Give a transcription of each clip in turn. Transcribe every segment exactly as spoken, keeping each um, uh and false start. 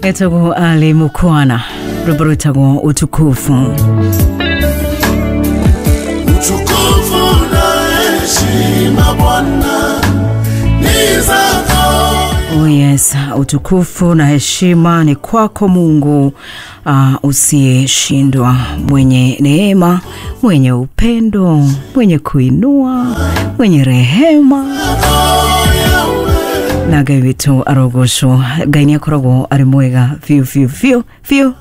Etagwo Ali Mukwana, rwimbo rwitagwo Utukufu. Utukufu na heshima Bwana ni zako. Oh yes, utukufu na heshima ni kwako Mungu uh, usiyeshindwa, mwenye neema, mwenye upendo, mwenye kuinua, mwenye rehema. Na Ngai witũ arogocwo. Ngai nĩ akoragwo arĩ mwega biũ biũ biũ biũ.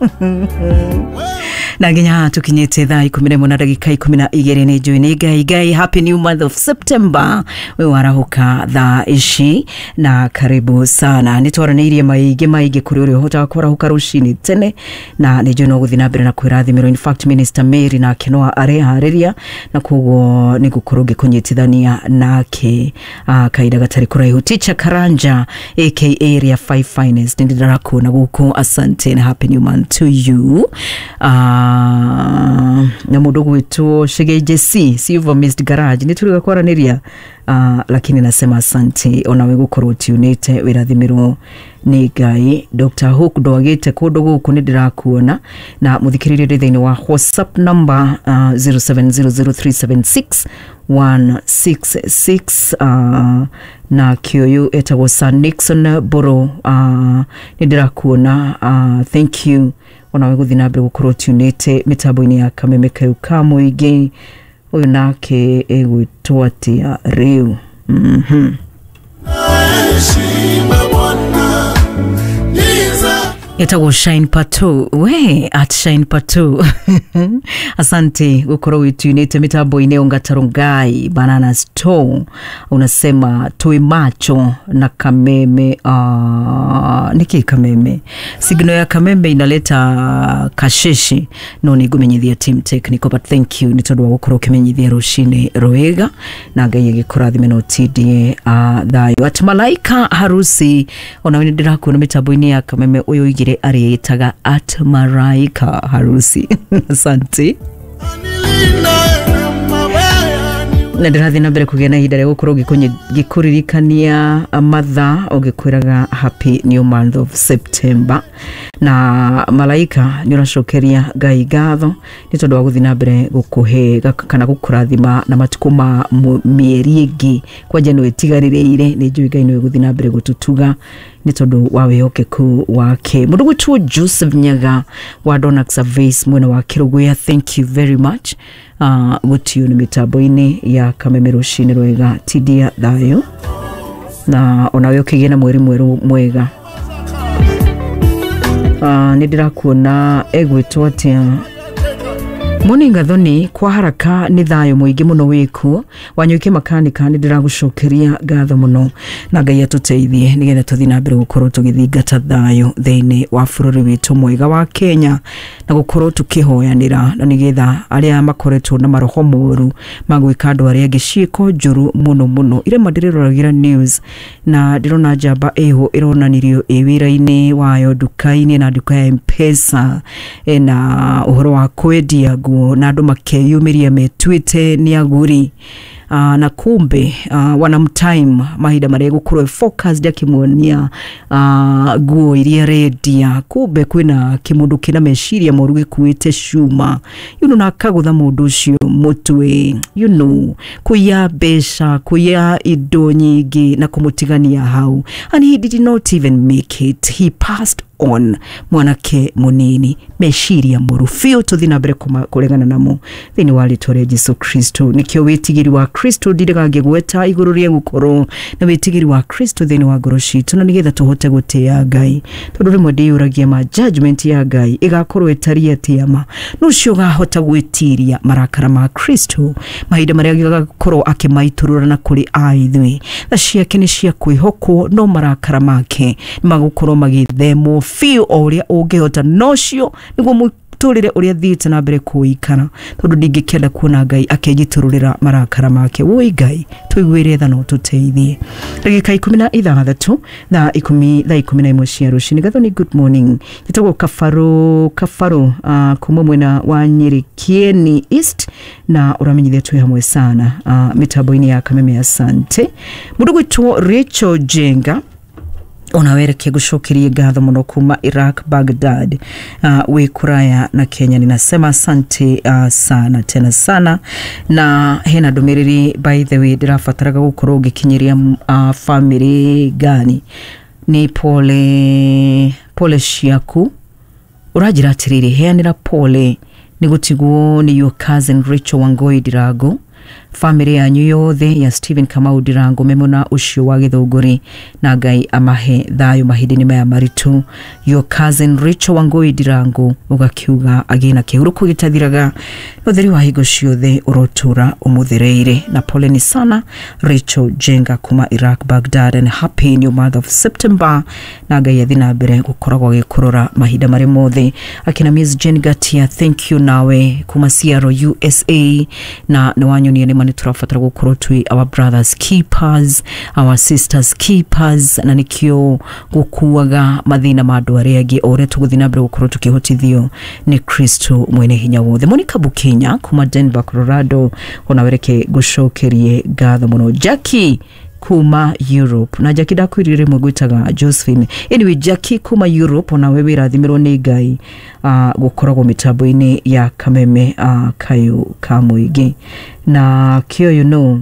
Na nginya haha tũkinyĩte thaa ikũmi na ĩmwe na ndagĩka ikũmi na igĩrĩ. Nĩ njũĩ nĩ Ngai. Ngai, happy new month of September. We warahũka thaa ici na karibu sana. Nĩ twaranĩirie maingĩ maingĩ kũrĩ ũrĩa ũhotaga kwarahũka rũcinĩ tene, na nĩ njũĩ no gũthiĩ na mbere na kwĩrathimĩrwo. In fact, Minister Mary nake no areharĩria, na koguo nĩ ngũkorwo ngĩkũnyitithania nake uh, kahinda gatarĩ kũraihu. Teacher Karanja aka Area five Finest, nĩ ndĩrakuona gũkũ. Asante na happy new month to you. uh, na mũndũ gwĩtwo Shigeje C Silver Mist Garage, nĩ tũrĩga kwaranĩria, uh, lakini nasema asante onawe gũkorwo tunĩte, wĩrathimĩrwo nĩ Ngai. Doctor Hook ndwagĩte kũndũ gũkũ, nĩ ndĩrakuona. Na mũthikĩrĩria ndĩ thĩinĩ wa WhatsApp number uh, zero seven zero zero three seven six one six six, uh, na kĩũyũ etagwo Sir Nixon Boro, uh, nĩ ndĩrakuona. uh, thank you onawe gũthiĩ na mbere gũkorwo tunĩte mĩtambo-inĩ ya Kameme kau ka mũingĩ. Ũyũ nake ĩgwĩtwo atĩa rĩu? mm-hmm. Heshima Bwana ni zako. Etagwo Shine Pato, we at Shine Pato, asante gukorwo witunite mitambo-inĩ. Ongatarungai Banana Store unasema tui macho na Kameme. uh, niki Kameme, signal ya Kameme inaleta kasheshi, no nĩ ngũmenyithia team technical, but thank you nĩ tondũ wa gũkorwo ũkĩmenyithia rũcinĩ rwega, na Ngai agĩkũrathime na ũtindie uh, thayũ. At Malaika Harusi, onawe nĩ ndĩrakuona mĩtambo-inĩ ya Kameme. Ũyũ oigire arĩĩtaga at Maraika Harusi, asante. Anilinda na mabaya ni Na ndĩrathiĩ na mbere kũgĩa na ihinda rĩa gũkorwo ngĩkũnyi- ngĩkũririkania mathaa ũgĩkwĩraga happy new month of September. Na Malaika, nĩ ũracokeria Ngai ngatho nĩ tondũ wa gũthiĩ na mbere gũkũhe gaka- kana gũkũrathima na matukũ ma mũ- mĩeri ĩngĩ kwanja nĩ wĩtigarĩrĩire. Nĩ njũĩ Ngai nĩwe gũthiĩ na mbere gũtũtuga nĩ tondũ wa wĩhokeku wake. Mũndũ gwĩtwo Joseph Nyaga wa Donax Surveys mwena wa Kĩrũgũya, thank you very much uh, gũtio nĩ mĩtambo-inĩ ya Kameme rũcinĩ rwega. Tindia thayũ na onawe ũkĩgĩe na mweri mwerũ mwega. uh, nĩ ndĩrakuona egwĩtwo atĩa? Moni Gathoni, kwa haraka nĩ thayũ mũingĩ mũno wĩkuo. Wanyuike Makanika, nĩ ndĩragũcokeria ngatho mũno, na Ngai atũteithie nĩgetha tũthiĩ na mbere gũkorwo tũgĩthingata thayũ thĩinĩ wa bũrũri witũ mwega wa Kenya, na gũkorwo tũkĩhoyanĩra, na nĩgetha arĩa makoretwo na maroho moru magwĩka andũ arĩa angĩ ciĩko njũru mũno mũno. Irema ndĩrĩroragĩra news na ndĩrona njamba ĩho ĩronanirio ĩ wĩra-inĩ wayo nduka-inĩ, na nduka ya Mpesa ena ũhoro wa kwendia nguo, na andũ makeyumĩria metuĩte nĩ agũri, uh, na kumbe uh, wanamtime mahinda marĩa gũkorwo focused akĩmuonia uh, nguo iria arendia, kumbe kwĩna kĩmũndũ kĩna meciria moru gĩkuĩte cuma you know, na akagũtha mũndũ ũcio mũtwe you know, kũiya mbeca, kũiya indo nyingĩ na kũmũtigania hau, and he did not even make it, he passed on. Mwanake munini, meciria moru biũ, tũthiĩ na mbere kũma- kũregana namo thĩinĩ wa rĩtwa rĩa Jesu Kristo. Nĩkĩo wĩtigĩri wa Kristo ndirĩga ngĩgweta igũrũ rĩa gũkorwo na wĩtigĩri wa Kristo thĩinĩ wa ngoro citũ, na nĩgetha tũhote gũtĩĩa Ngai, tondũ rĩmwe ndĩyũragia ma judgment ya Ngai ĩgakorwo ĩtariĩ atĩa, ma nũ ũcio ũgahota gwĩtiria marakara ma Kristo mahinda marĩa agakorwo akĩmaitũrũra na kũrĩ a ithuĩ. Tha ciake nĩ cia kwĩhokwo, no marakara make nĩ magũkorwo magĩthemwo biũ o ũrĩa ũngĩhota, nocio nĩguo mũtũrĩre ũrĩa thiĩte na mbere kũikara, tondũ ndingĩkĩenda kuona Ngai akĩnjitũrũrĩra marakara make. Woi Ngai, tũiguĩre tha no tũteithie. Ndagĩka ikũmi na ithathatũ thaa ikũmi, thaa ikũmi na ĩmwe cia rũcinĩ. Gathoni, good morning. Njĩtagwo Kabaro Kabaro uh, kuma mwena wa Nyĩrĩ Kieni East, na ũramenyithia twĩ hamwe sana uh, mĩtambo-inĩ ya Kameme. Asante. Mũndũ gwĩtwo Rachel Jenga. Ona wereke gucokerie ngatho muno kuma Iraq, Baghdad, uh, wi kuraya na Kenya. Ninasema asante uh, sana tena sana. Na hena ndumiriri, by the way, ndirabataraga gukorwo ngikinyiria uh, family gani ni pole pole ciaku. Uranjira atiriri, heanira pole ni gutigwo ni your cousin Rachel Wangoi Ndirango, family yanyu yothe ya Stephen Kamau Ndirango memona ucio wa Githunguri, na Ngai amahe thayo mahinda-inĩ maya maritũ. Your cousin Rachel Wangoi Ndirango, ugakiuga agĩe na kĩhurũko gĩtathiraga, ũtheri wa hingo ciothe ũrotũra ũmũthereire. Na poleni sana Rachel Jenga kuma Iraq, Baghdad, and happy new month of September, na Ngai athi na mbere gũkoragwo agĩkũrora mahinda marĩ mothe. Akina Miss Jane Gatia, thank you nawe kuma Seattle, U S A, na nĩ wanyonia nĩ ma nĩ tũrabatara gũkorwo twĩ our brothers keepers, our sisters keepers, na nĩkĩo gũkuaga mathĩna ma andũ arĩa angĩ o ũrĩa tũgũthiĩ na mbere gũkorwo tũkĩhotithio nĩ Kristo mwene hinya wothe. Monica Bukenya kuma Denver, Colorado, ona wereke ngũcokerie ngatho mũno. Jackie kuma Europe, na Jackie ndakwĩrire rĩmwe ngwĩtaga Josephine. Anyway, Jackie kuma Europe, ona we wĩrathimĩrwo nĩ Ngai uh, gũkoragwo mĩtambo-inĩ ya Kameme uh, kayũ ka mũingĩ. Na kĩo, you know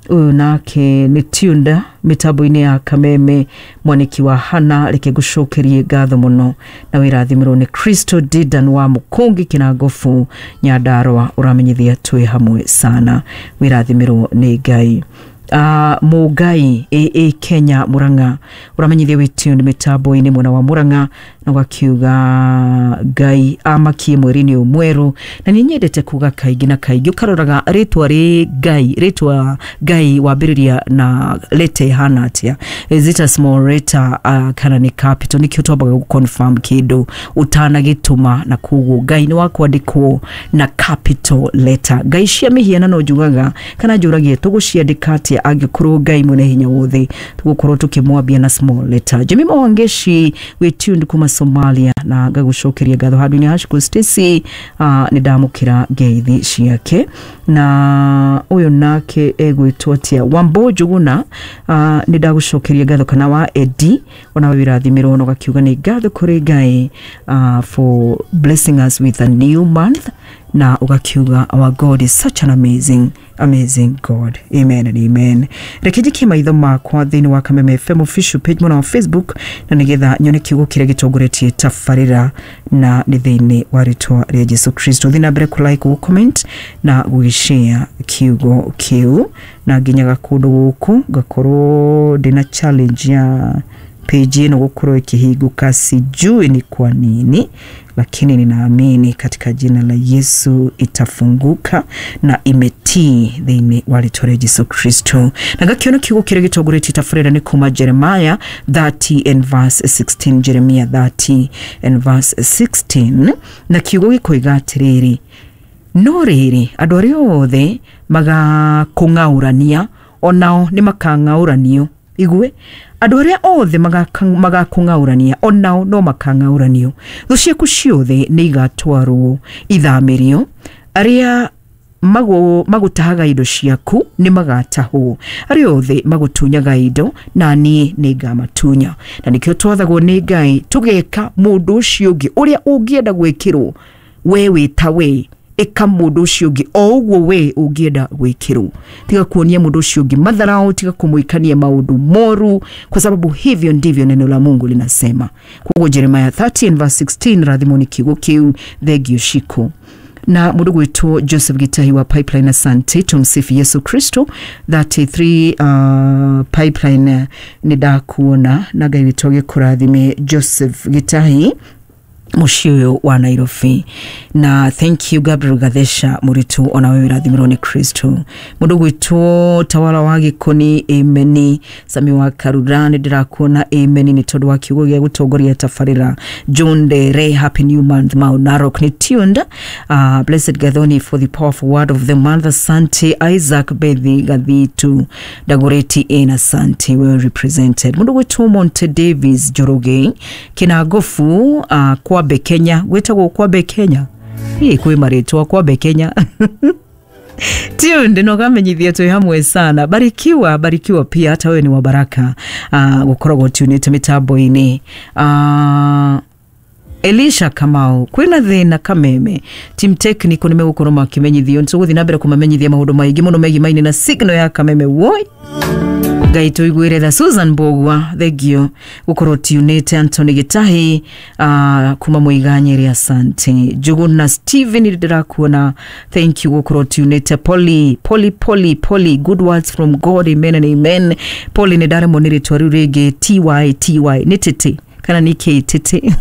ũyũ nake nĩ tunda mĩtambo-inĩ ya Kameme, mwanĩki wa Hana, reke ngũcokerie ngatho mũno na wĩrathimĩrwo nĩ Kristo. Didan wa Mũkũngi Kĩnangobu Nyandarũa, ũramenyithia twĩ hamwe sana, wĩrathimĩrwo nĩ Ngai. uh, Mũngai A A Kenya Murang'a, ũramenyithia wĩ tuned mĩtambo-inĩ mwena wa Murang'a, na ũgakiuga Ngai amakie mweri-inĩ ũyũ mwerũ. Na nĩ nyendete kuga kaingĩ na kaingĩ, ũkaroraga rĩtwa rĩ Ngai, rĩtwa Ngai wambĩrĩria na letter ĩhana atĩa? Is it a small letter uh, kana nĩ capital? Nĩkĩo twambaga gũ confirm kĩndũ ũtanagĩtũma, na koguo Ngai nĩ wa kwandĩkwo na capital letter. Ngai cia mĩhianano njugaga kana njũragia tũgũciandĩka atĩa angĩkorwo Ngai mwene hinya wothe tũgũkorwo tũkĩmwambia na small letter? Jemima Wangeshi wĩ tuned kuma Somalia, na ngagũcokeria ngatho. Handũ-inĩ ha Stacy, uh, nĩ ndamũkĩra ngeithi ciake. Na ũyũ nake egwĩtwo atĩa? Wambo Njuguna, uh, nĩ ndagũcokeria ngatho, kana wa Edi, ona wĩrathimĩrwo, na ũgakiuga nĩ ngatho kũrĩ Ngai uh, for blessing us with a new month, na ũgakiuga our God is such an amazing, amazing God. Amen and amen. Reke njikie maitho makwa thĩinĩ wa Kameme F M official page mwena wa Facebook, na nĩgetha nyone kiugo kĩrĩa gĩtongoretie tabarĩra, na nĩ thĩinĩ wa rĩtwa rĩa Jesu Kristo. Thiĩ na mbere kũ like, gũ comment na gũgĩshare kiugo kĩu, na nginyaga kũndũ gũkũ ngakorwo ndĩna challenge ya page ĩno gũkorwo ĩkĩhingũka, sijui ni kwa nini, lakini ninaamini katika jina la Yesu itafunguka na imetii thĩinĩ wa rĩtwa rĩa Jesu Kristo. Na ngakiona kiugo kĩrĩa gĩtongoretie tabarĩra nĩ kuma Jeremiah thirty and verse sixteen, Jeremiah thirty and verse sixteen, na kiugo gĩkoiga atĩrĩrĩ, no rĩrĩ, andũ arĩa othe magakũng'aũrania onao nĩ makang'aũranio. Igue, andũ arĩa othe magakũng'aũrania onao no makang'aũranio. Thũ ciaku ciothe nĩ igatwarwo ithamĩrio, arĩa magu- magũtahaga indo ciaku nĩ magatahwo, arĩa othe magũtunyaga indo na niĩ nĩ ngamatunya. Na nĩkĩo twathagwo nĩ Ngai tũgeka mũndũ ũcio ũngĩ ũrĩa ũngĩenda gwĩkĩrwo we wĩ ta we. Ĩka mũndũ ũcio ũngĩ o ũguo we ũngĩenda gwĩkĩrwo. Tiga kuonia mũndũ ũcio ũngĩ madharau, tiga kũmwĩkania maũndũ moru, kwa sababu hivyo ndivyo neno la Mungu linasema. Koguo Jeremiah thirty and verse sixteen, rathimwo nĩ kiugo kĩu, thengio ciku. Na mũndũ gwĩtwo Joseph Gitahi wa Pipeline, asante. Tumsifu Yesu Kristo. thirty-three uh, Pipeline, nĩ ndakuona, na Ngai witũ agĩkũrathime, Joseph Gitahi, mũciĩ ũyũ wa Nairobi. Na thank you Gabriel Gathesha mũritũ, ona wewe rathimirwo nĩ Kristo. Mũndũ gwĩtwo Tawala wa Gĩkoni, ameni. Sami wa Karura, nĩ ndĩrakuona, ameni nĩ tondũ wa kiugo gĩa gũtongoria tabarĩra. John Dere, happy new month. Mau Narok nĩ tuned. uh, blessed Gathoni for the powerful word of the month, asante. Isaac Bethi Gathitu Dagoreti in, asante, well represented. Mũndũ gwĩtwo Monte Davis Njoroge Kĩnangobu, uh, Kwambe Kenya, gwĩtagwo Kwambe Kenya. Ĩ kwĩ marĩtwa Kwambe Kenya. Tuned na ũkamenyithia twĩ hamwe sana. Barikiwa, barikiwa pia, hata wewe ni wa baraka uh, gukoragwo tunĩte mĩtambo-inĩ. uh, Elisha Kamau, kwĩna thĩna Kameme, team technical nĩmegũkorwo makĩmenyithio, nĩtũgũthiĩ na mbere kũmamenyithia maũndũ maingĩ mũno megiĩ maini na signal ya Kameme. Woi Ngai tũiguĩre tha. Susan Mbogua, thengio gũkorwo tunĩte. Anthony Gĩtahi uh, kuma Mũiganyĩrĩ, asante. Njuguna Steven, ndĩrakuona, thank you gũkorwo tunĩte. Poli Poli Poli Poli, good words from God, amen and amen. Poli, nĩ ndaremwo nĩ rĩtwa rĩu rĩngĩ, ty ty nĩ tĩtĩ kana nĩ k tĩtĩ.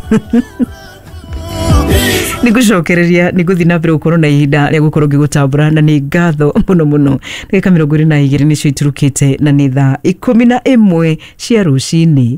Nĩ ngũcokereria, nĩ ngũthiĩ na mbere gũkorwo na ihinda rĩa gũkorwo ngĩgũtambũra, na nĩ ngatho mũno mũno. Ndagĩka mĩrongo ĩrĩ na igĩrĩ nĩcio iturukĩte na nĩ thaa ikũmi na ĩmwe cia rũcinĩ.